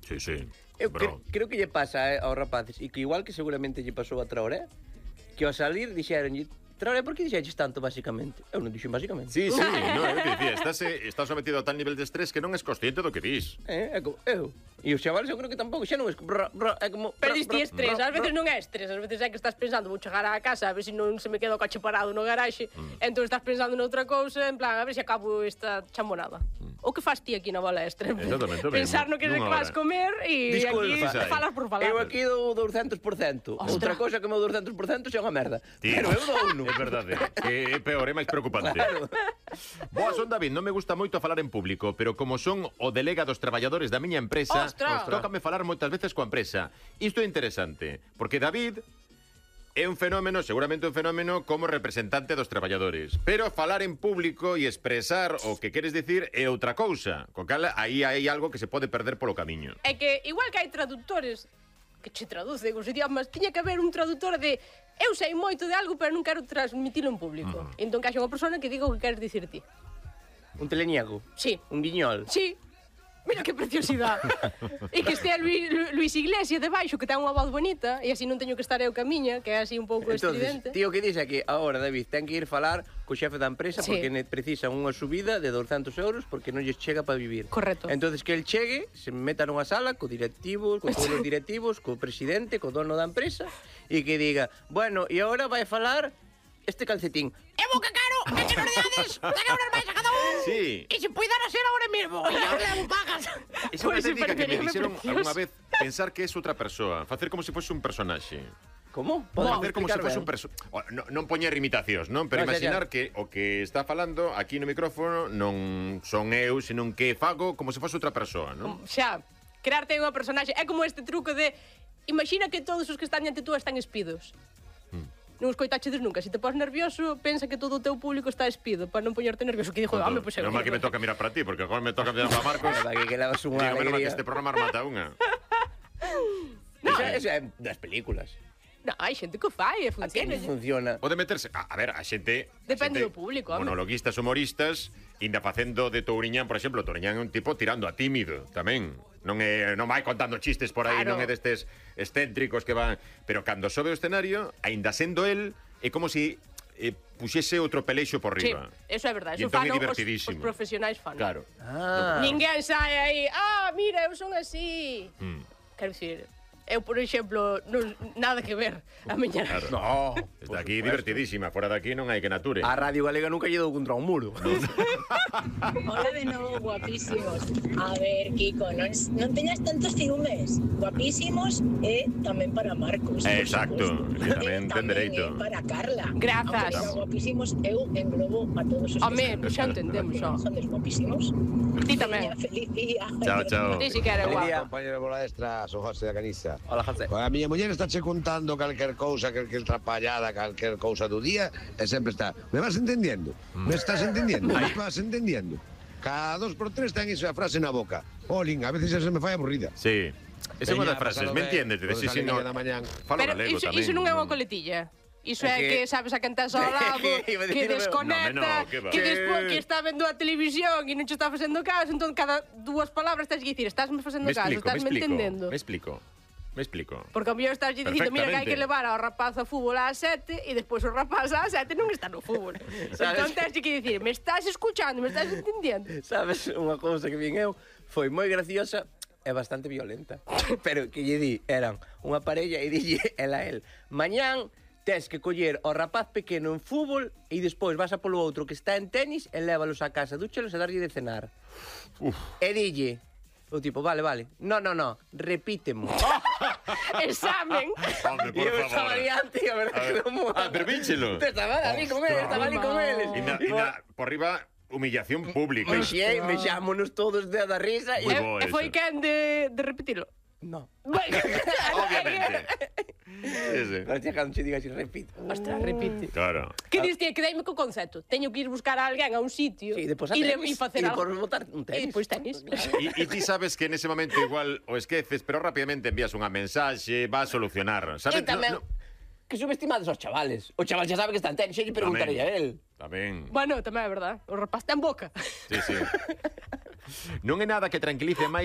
Sí, sí. Eu creo que lle pasa aos rapaces, e que igual que seguramente lle pasou a Traoré, que ao salir dixeronlle: Traoré, por que dixeches tanto, basicamente? Eu non dixen basicamente. Sí, sí, no, eu te dicía, estás sometido a tal nivel de estrés que non és consciente do que dis. É como, eu. E os chavales eu creo que tampouco, xa non é como... Pero diste estrés, ás veces non é estrés, ás veces é que estás pensando, vou chegar á casa, a ver se non se me queda o coche parado no garaxe, entón estás pensando noutra cousa, en plan, a ver se acabo esta chamonada. O que faz ti aquí na bola extra? Exactamente, pensar no que vas comer e aquí falas por falar. Eu aquí dou 200%. Outra cousa que o meu 200% xa é unha merda. Pero eu dou uno. É verdade, que é peor, é máis preocupante. Claro. Boa, son David, non me gusta moito falar en público, pero como son o delega dos traballadores da miña empresa, tócame falar moitas veces coa empresa. Isto é interesante, porque David é un fenómeno, seguramente un fenómeno como representante dos traballadores. Pero falar en público e expresar o que queres dicir é outra cousa. Co cal, aí hai algo que se pode perder polo camiño. É que, igual que hai traductores que che traducen os idiomas, tiña que haber un traductor de eu sei moito de algo, pero non quero transmitilo en público. Entón, que haxa unha persona que diga o que queres dicir ti. Un teleniego. Sí. Un guiñol. Sí. Mira que preciosidade. E que estea Luis Iglesias debaixo, que ten unha voz bonita, e así non teño que estar eu camiña, que é así un pouco estridente. Tío, que dixe que agora, David, ten que ir falar co xefe da empresa porque precisan unha subida de 200 euros porque non lles chega para vivir. Correcto. Entonces que el chegue, se meta nunha sala co directivo, con todos os directivos, co presidente, co dono da empresa, e que diga, bueno, e agora vai falar este calcetín. É boca caro, é que non dades 100 euros máis a cada un. Sí. E se puidera ser agora mesmo, e eu levo pagas. Esa é unha técnica que me dixeron algunha vez, pensar que é outra persoa, facer como se fose un personaxe. Como? Facer como se fose un personaxe. Non poñer imitacións, non? Pero imaginar que o que está falando aquí no micrófono non son eu, senón que fago como se fose outra persoa, non? Xa, crearte unha personaxe. É como este truco de imagina que todos os que están diante tú están espidos. Non os coitachedes nunca. Se te pos nervioso, pensa que todo o teu público está espido para non poñerte nervioso. Que dixo, home, pois eu. Non é que me toca mirar para ti, porque agora me toca mirar para Marcos. Que levas unha alegría. alegría. Que este programa remata unha. Eso é das películas. Non, hai xente que o fai e funciona. Pode meterse... A ver, a xente... Depende do público, home. Monologuistas, humoristas, inda facendo de Touriñán, por exemplo. Touriñán é un tipo tirando a tímido, tamén. Non vai contando chistes por aí, non é destes excéntricos que van... Pero cando sobe o escenario, aínda sendo el, é como se puxese outro pelexo por riba. Sí, eso é verdade. Eso entón fan os profesionais fan. Claro. Ninguén sai aí, mira, eu son así. Quero dicir... Eu, por exemplo, nada que ver a miña... Claro. No. Está aquí divertidísima, fora daqui non hai que nature. A Radio Galega nunca lle dou contra un muro. Hola de novo, guapísimos. A ver, Kiko, non teñas tantos ciúmes. Guapísimos e tamén para Marcos. Exacto, que tamén ten dereito. Para Carla. Grazas. Aunque guapísimos, eu englobo a todos os que están. Xa entendemos, xa. Son guapísimos. Ti tamén. Feliz día. Chao, chao. Ti si que eres guapo. Compañero de bola extra, son José da Caniza. Hola, José. A miña muller está che contando calquer cousa, calquer trapallada, calquer cousa do día, e sempre está, me vas entendiendo? Me estás entendiendo? Me vas entendiendo? Cada 2 por 3 ten esa frase na boca. Olín, a veces se me fai aburrida. Sí. Esa é unha das frases, me entiendes? Si no, falo galego tamén. Iso non é unha coletilla. Iso é que sabes a quen tes ao lado, que desconecta, que está vendo a televisión e non che está facendo caso, entón cada 2 palabras tens que dicir, estásme facendo caso, estásme entendendo. Me explico. Porque ao mellor estás dicindo, mira que hai que levar ao rapaz ao fútbol ás 7 e despois o rapaz ás 7 non está no fútbol. Entón tens que dicir, me estás escuchando, me estás entendendo. Sabes, unha cousa que vin eu foi moi graciosa e bastante violenta. Pero que lle di, eran unha parella e dille ela a el, mañán tes que coller ao rapaz pequeno en fútbol e despois vas a polo outro que está en tenis e lévalos a casa, dúchelos e darlle de cenar. E dille o tipo, vale, no, repítemo. Examen. Hombre, por favor. Eu estaba diante, a verdade que non mola. Pero vínchelo. Estaba ali con eles, E por riba, humillación pública. Mexámonos todos de da risa. E foi quen de repetilo? No. Obviamente. Pero che cando che diga así, repite. Ostras, repite. Claro. Que diste? Quedeime co concepto. Teño que ir buscar a alguén a un sitio e facer algo. E botar un tenis. E depois tenis. E ti sabes que nese momento igual o esqueces, pero rapidamente envías unha mensaxe, va a solucionar. Sabes? E tamén que subestimados aos chavales. O chaval xa sabe que está en tenis, xa lle preguntaría a él. Tamén. Bueno, tamén é verdad. O rapaz ten boca. Sí. Non é nada que tranquilice máis